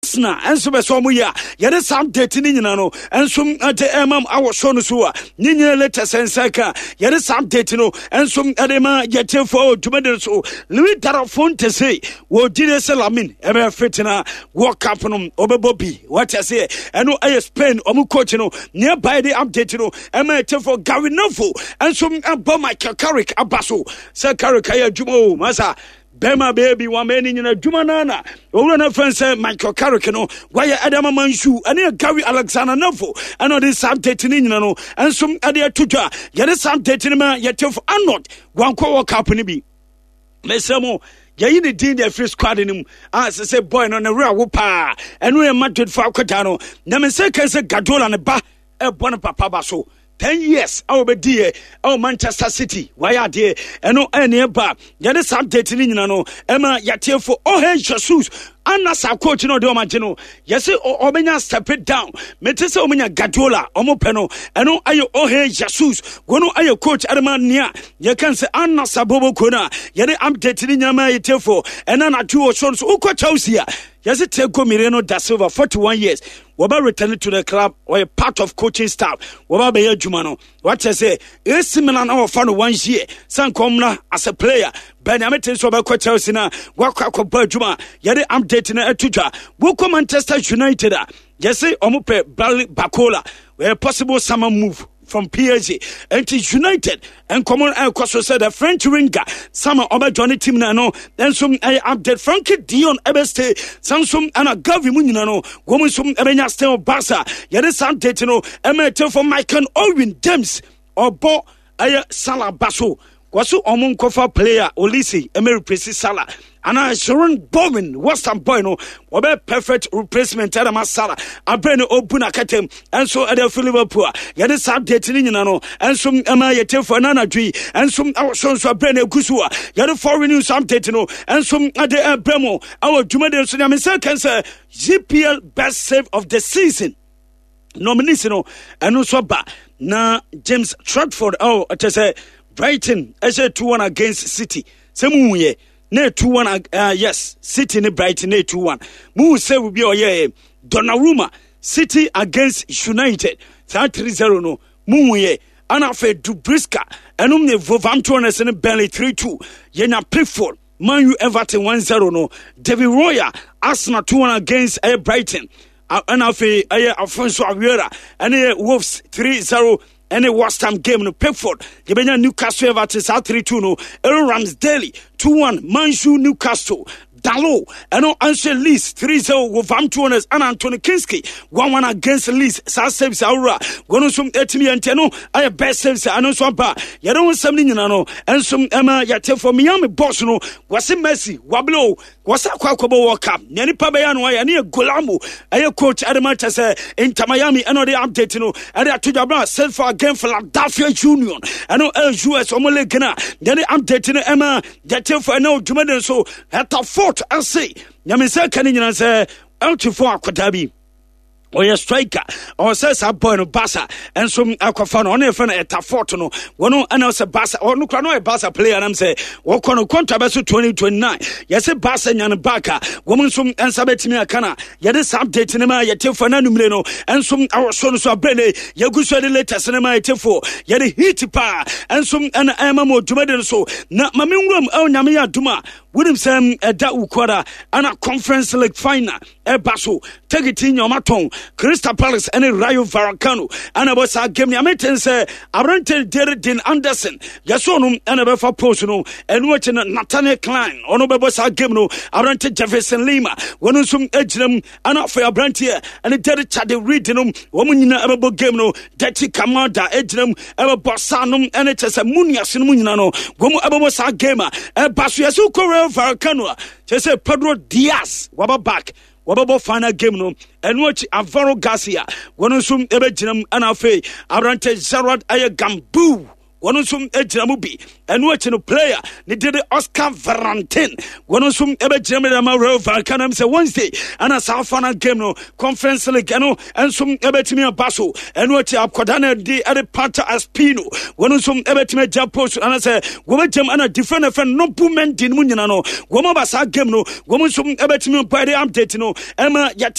Arsenal nso bɛ sɛ ɔmo yɛ a yɛde saa update ne nyina no nso de ɛma awɔ show no so a ne nyina latest nsa ka yɛde saa update no nso de ma yɛtiefo dwumadi no so. Louis Darafonte se wɔgyire sɛ Lamin ɛbɛyɛ fit na World Cup no ɔbɛbɔ bi wɔte aseɛ. Ɛno ɛyɛ Spain ɔmo coach no nea bae de update no ɛma yɛtiefo. Gary Neville nso ɛbɔ Michael Carrick aba so sɛ Carrick ayɛ adwuma o masa bɛrima bɛyɛ bi wɔn ani nyina adwuma no na owura no fɛn sɛ Michael Carrick no wayɛ ɛde ama Mansu ɛne Gary Alexander Neville ɛna ɔde saa update no nyina no nso ɛde ato dwa. Yɛde saa update no ma yɛtefo Arnold wankɔ wɔ cup no bi mesrɛ mo yɛyi ne din de afiri squad no mu a sɛ sɛ boy no ne werɛ awo paa. Ɛno yɛ Madrid fo akɔda no na me sɛ kan sɛ Guardiola ne ba ɛbɔ no papa ba so 10 years a wɔbɛdiiɛ ɛwɔ Manchester City wayɛ adeɛ. Ɛno ɛne ɛba yɛde saa update no nyina no ɛma yɛtiefo. Ɔhɛ Jesus ana saa coach no ɔde ɔma gye no yɛsɛ ɔbɛnya step it down. Mete sɛ ɔmanya Guardiola ɔmo pɛ no ɛno ayɛ ɔhɛ Jesus wɔno ayɛ coach ɛde nea yɛka sɛ ana sa boboko no a yɛde update no nyina ma yɛtiefo. Ɛna anadwo wɔ so no so wokɔ Chelsea a yɛsɛ Thiago Mireno da Silva 41 years wɔbɛ return to the club, ɔyɛ part of coaching staff, wɔbɛ bɛyɛ adwuma no. Wakyɛ sɛ AC Milan na wɔfa no 1 year sɛ nkɔmmra as a player bɛnyame te sɛ ɔbɛkɔ Chelsea na wakɔ akɔbɔ adwuma. Yɛde update no ato dwa. Wokɔ Manchester United a yɛse ɔmo pɛ Bradley Barcola, a possible summer move from PSG. Enti United nkɔmɔ no ɛkɔ so sɛ the French winger sama ɔbɛjoin team no. Ɛno nso ɛyɛ update. Frankie Dion ɛbɛstay sansom ɛna Gavi mu nyina no wɔn nso ɛbɛnya stay wɔ Barca. Yɛde saa update no ɛma ɛtɛfo. Michael Owen James ɔbɔ ɛyɛ Salah ba so wɔso ɔmo nkɔfa player Olise ɛmɛ replace Salah anaa Sharon Bowen West Ham boy no wɔbɛ perfect replacement ɛna ma Salah abɛn no ɔbu n'akɛtɛm ɛnso ɛde afi Liverpool a yɛde saa update no nyina no ɛnso ɛma yɛtiefo. Ɛna anadwo yi ɛnso ɛwɔ so nso abɛn no egu so a yɛde foreign news update no ɛnso ɛde ɛbrɛ mu ɛwɔ dwumadi nso. Nyame sɛ kɛn sɛ GPL best save of the season nominees no ɛno nso aba na James Trafford ɛwɔ ɛkyɛ sɛ Brighton ɛhyɛ 2-1 against City sɛ mu yɛ na 2-1, yes, City ne Brighton na 2-1 mu sɛ obi a ɔyɛ Donnarumma City against United saa 3-0 no mu yɛ. Ana afei Dubriska ɛnom ne Wolverhampton ne Burnley 3-2 yɛnya Pickford Man U Everton 1-0 no, David Royer Arsenal 2-1 against Brighton. Ɛna afei ɛyɛ Afonso Aguera ɛne Wolves 3-0 ɛne West Ham game no. Pickford yɛbɛnya Newcastle Everton saa 3-2 no, Aaron Ramsdale 2-1 Man U Newcastle, Dalo ɛno nso Leeds 3-0 Wolverhampton Wanderers, ɛna Anthony Kinski 1-1 against Leeds. Saa saves awura wɔn nso ɛtumi yɛ ntiɛ no ɛyɛ best saves. Ɛno nso aba yɛde ho nsɛm no nyina no ɛnso ɛma yɛte fɔ Miami boss no wɔse Messi wabele o wɔsɛ akɔbɔ World Cup nea nipa bɛyɛ no ayɛ ne yɛ Golamo ɛyɛ coach ɛde ma kyɛ sɛ Inter Miami ɛna ɔde update no ɛde ato dwa bra set for again Philadelphia Union ɛno ɛyɛ US ɔmo league no a yɛde update no ɛma yɛte fɔ ɛna odwuma de nso ɛta fort ase nyame sɛ ka ne nyina sɛ ɛltifo akɔdaa bi ɔyɛ striker ɔwɔ sɛ saa boy no Barca nso akɔfa no ɔno yɛfrɛ no ɛta fort no wɔno ɛna sɛ Barca ɔno kora no ɔyɛ Barca player nam sɛ wɔkɔ no contract bɛso 2029 yɛsɛ Barca nya no back a wɔn nso nsa bɛtumi aka no. Yɛde saa update no ma yɛte fo na numere no nso awɔ so no so abrɛ ne yɛgu so de latest no ma yɛte fo yɛde hit paa nso ɛna ɛma mu dwumadi no so na ma menwuram ɛwɔ Nyame yɛ adom a wonim sɛ ɛda wukuada ɛna Conference League final ɛba so tekiti nya ɔma Crystal Palace ɛne Rayo Vallecano ɛna ɛbɔ saa game. Nea meten sɛ aberante Dere Dean Anderson yɛsɛ ɔno ɛna ɛbɛfa post no. Ɛno akyi no Nathaniel Klein ɔno bɛbɔ saa game no. Aberante Jefferson Lima wɔno nso agyina mu ɛna afei aberanteɛ ɛne Dere Chade Reed no wɔn nyinaa ɛbɛbɔ game no. Dɛkyi Kamada agyina mu ɛbɛbɔ saa nom ɛne kyɛ sɛ mu nuase no mu nyinaa no wɔn ɛbɛbɔ saa game a ɛba so. Yɛsɛ wokɔ Rayo Vallecano a kyɛ sɛ Pedro Diaz waba back wɔbɛbɔ final game no. Ɛno akyi Alvaro Garcia wɔno nso ɛbɛgyina mu ɛna afei aberante Gerard ɛyɛ Gambu wɔno nso gyina mu bi. Ɛno akyi no player ne de Oscar Valentin wɔno nso ɛbɛgyina mu de ama Real Vallecano sɛ Wednesday ɛna saa final game no Conference League ɛno nso ɛbɛtumi aba so. Ɛno akyi akɔda no de ɛde Pata Aspino wɔno nso ɛbɛtumi agya post anasɛ wɔbɛgyam ɛna different ɛfɛ Nobu Mendy no mu nyina no wɔn aba saa game no wɔn nso ɛbɛtumi aba. Ɛde update no ɛma yɛte.